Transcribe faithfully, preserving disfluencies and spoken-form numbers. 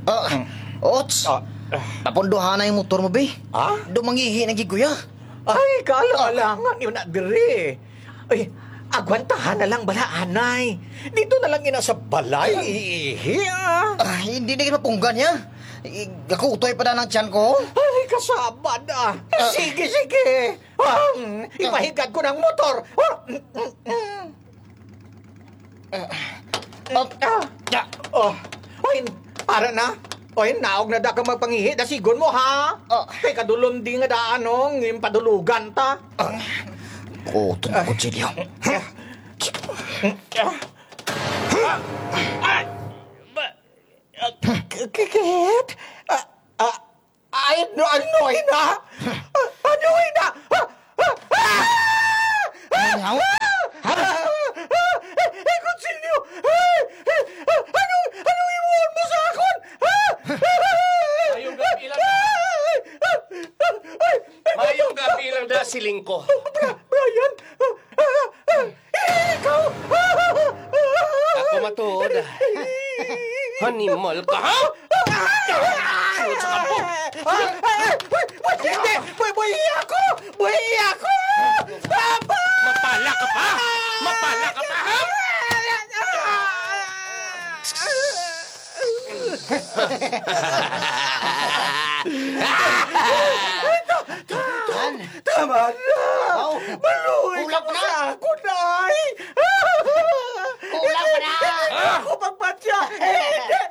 Ah, Ots, Ah, ah. Papunduhan na yung motor mo, be. Ah? Dumangihi na giguya. Ay, kaalang-alangan yun na diri. Ay, agwantahan na lang bala, anay. Dito na lang ina sa balay, iihi, ah. Ah, hindi na kita punggan niya. I- Gakutoy pa na ng tiyan ko. Ay, kasabad, ah. Ah. Sige, sige. Ah, mm, ipahigad ko ng motor. Ah, mm, mm, mm. Ah, ah, ah. Oh, oy, ara na. Oy, naog na da ka magpangihi, dasigon mo, ha? Ah. Kay kadulom di nga daan, no, ngin padulugan ta. Ah. Oh, itong kutsilyo. Ah. Ah. Ah. K- k- Kit? Ah, ah, ay, no, ano, ina? Ah, ano, ina? Ah, ah, ah! Ano, ha? Ah, ah, ah, eh, kutsilyo! Ay, eh, ah, ano, ano imuon mo sa akon? Ah! Mayong gabi lang. Ay, ay, ay, ay, ay, Mayong gabi lang da, siling ko. Bra-, Brian! Ah, ah, ah, ikaw! Ako matuod. Animal ka, ha? Sulod sa kampo. Ah, ah, ah, ah, hindi! Buhi, buhi ako! Buhi ako! Papa! Mapala ka pa! Mapala ka pa, ha? Tama na! Wow. Maluoy ka Kulang pa na! Sa akon, ay! Kulang pa na! Hindi ako magpatya! Hindi!